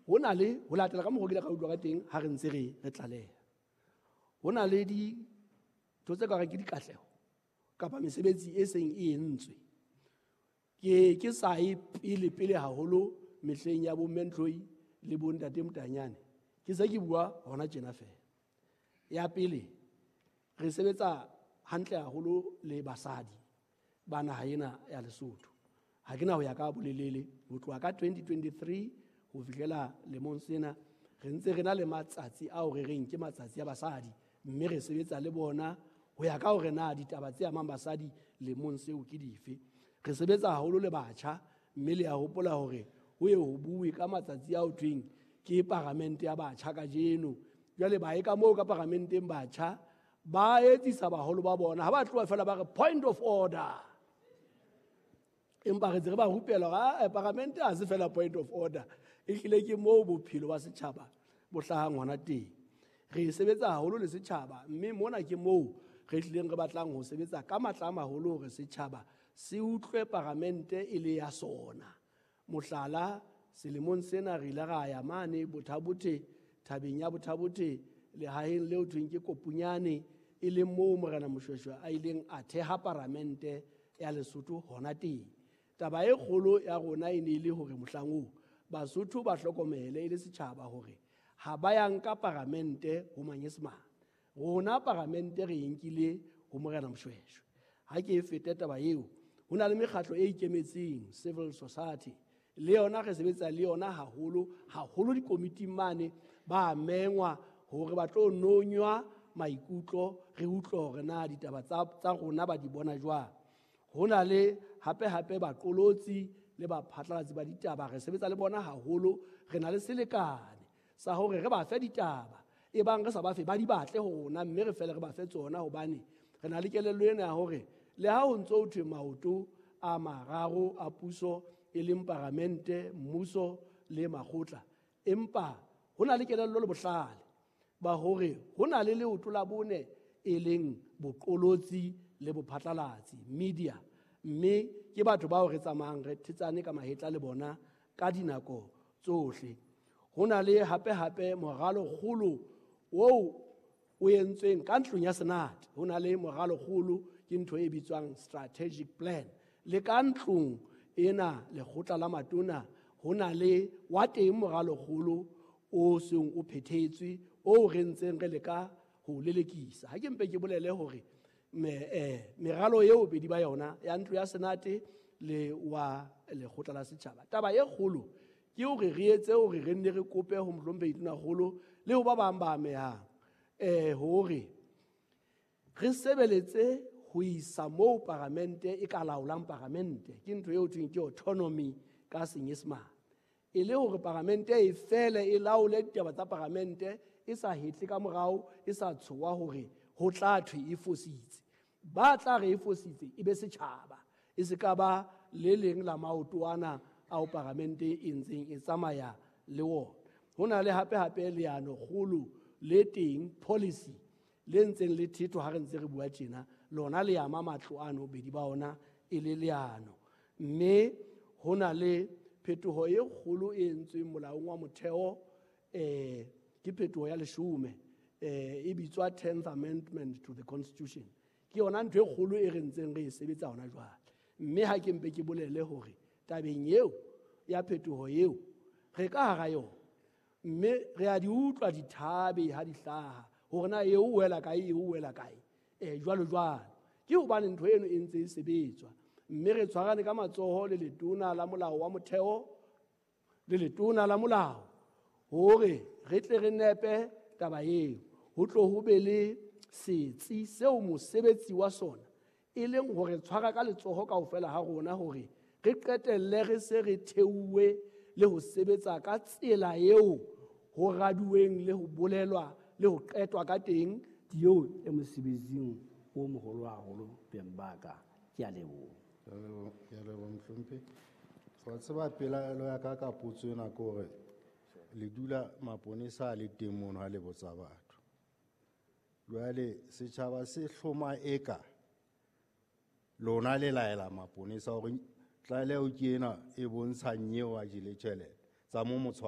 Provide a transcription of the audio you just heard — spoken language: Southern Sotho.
Ho na le ho latela ka mokgwa ke ile ka utlwa ka teng ha re ntse re tlaleha. Ho na le dintho tse ka reng ke dikatleho kapa mesebetsi e seng e entswe. Ke sa ye pele pele haholo mehleng ya bo Mentloi le bo Ntate Motanyane. Ke se ke bua hona tjena feela. Ya pele, re sebetsa hantle haholo le basadi ba naha ena ya Lesotho. Ha ke na ho ya ka bolelele, ho tloha ka 2023 ho fihlela lemong sena, re ntse re na le matsatsi ao re reng ke matsatsi a basadi, mme re sebetsa le bona ho ya ka hore na ditaba tse amang basadi lemong seo ke dife. Re sebetsa haholo le batjha, mme le a hopola hore ho ye ho bue ka matsatsi ao thweng ke paramente ya batjha kajeno. Jwale ba ye ka moo ka paramenteng batjha ba etsisa baholo ba bona, ha ba tloha fela ba re point of order. Empa re ntse re ba rupela hore, paramente ha se fela point of order, ehlile ke moo bophelo ba setjhaba bo hlahang hona teng. Re sebetsa haholo le setjhaba, mme mona ke moo re hlileng re batlang ho sebetsa ka matla a maholo hore setjhaba se utlwe paramente e le ya sona. Mohlala, selemong sena re ile ra ya mane Bothabothe, thabeng ya Bothabothe, lehaheng leo thweng ke Kopunyane, e leng moo Morena Moshoeshoe a ileng a theha paramente ya Lesotho hona teng. Taba e kgolo ya rona e ne e le hore mohlang oo Basotho ba hlokomele e le setjhaba hore ha ba ya nka paramente ho Manyesemane. Rona paramente re e nkile ho Morena Moshoeshoe. Ha ke e fete taba eo, ho na le mekgatlo e ikemetseng, civil society, le yona re sebetsa le yona haholo, haholo dikomiting mane, ba mengwa hore ba tlo nonywa maikutlo, re utlwe hore na ditaba tsa rona ba di bona jwang. Ho na le hape hape baqolotsi le baphatlalatsi ba ditaba, re sebetsa le bona haholo, re na le selekane sa hore re ba fe ditaba, e bang re sa ba fe ba di batle ho rona, mme re fele re ba fe tsona, hobane re na le kelello ena ya hore le ha ho ntso ho thwe maoto a mararo a puso e leng paramente, mmuso le makgotla, empa ho na le kelello le bohlale ba hore ho na le leoto la bone e leng boqolotsi le bophatlalatsi, media, mme ke batho bao re tsamayang re thetsane ka mahetla le bona ka dinako tsohle. Ho na le hape hape moralokgolo oo o entsweng ka ntlong ya Senate. Ho na le moralokgolo, ke ntho e bitswang strategic plan. Le ka ntlong ena lekgotla la matona ho na le wa teng moralokgolo o seng o phethetswe, o re ntseng re leka ho lelekisa. Ha ke mpe ke bolele hore meralo eo bedi ba yona ya ntlo ya Senate le wa lekgotla la setjhaba. Taba e kgolo ke hore re etse hore re nne re kope ho Mohlomphehi Tonakgolo le ho ba bang ba amehang, hore re sebeletse ho isa moo paramente e ka laolang paramente. Ke ntho eo thweng ke autonomy ka Senyesemane. E le hore paramente e fele e laole ditaba tsa paramente, e sa hetle ka morao, e sa tshoha hore ho tla thwe e fositse. Ba tla re e fositse e be setjhaba, e se ka ba le leng la maoto ana ao paramente e ntseng e tsamaya le wona. Ho na le hape hape leano kgolo le teng, policy le ntseng le thethwa ha re ntse re bua tjena, lona le ama matlo ano bedi ba ona e le leano. Mme ho na le phetoho e kgolo e entsweng molaong wa motheo, ke phetoho ya leshome, e bitswa 10th Amendment to the Constitution. Ke yona ntho e kgolo e re ntseng re e sebetsa hona jwale. Mme ha ke mpe ke bolele hore tabeng eo ya phetoho eo re ka hara yona, mme re a di utlwa dithabe ha di hlaha hore na eo o wela kae, eo o wela kae, jwalo jwalo. Ke hobane ntho eno e ntse e sebetswa, mme re tshwarane ka matsoho le letona la molao wa motheo le letona la molao hore re tle re nepe taba eo. Ho tlo ho be le setsi seo mosebetsi wa sona e leng hore tshwara ka letsoho kaofela ha rona hore re qetelle re se re theuwe le ho sebetsa ka tsela eo ho raduweng le ho bolelwa le ho qetwa ka teng. Eo e mosebetsing o moholo haholo beng ba ka. Ke a leboha. Ke a leboha, Mohlomphehi. Wa tseba pelaelo ya ka ka potso ena ke hore le dula maponesa a le teng mono ha le botsa batho. Jwale setjhaba se hloma eka lona le laela maponesa hore Tlaleho ke ena e bontshang eo a jele tjhelete tsa mo motshwara.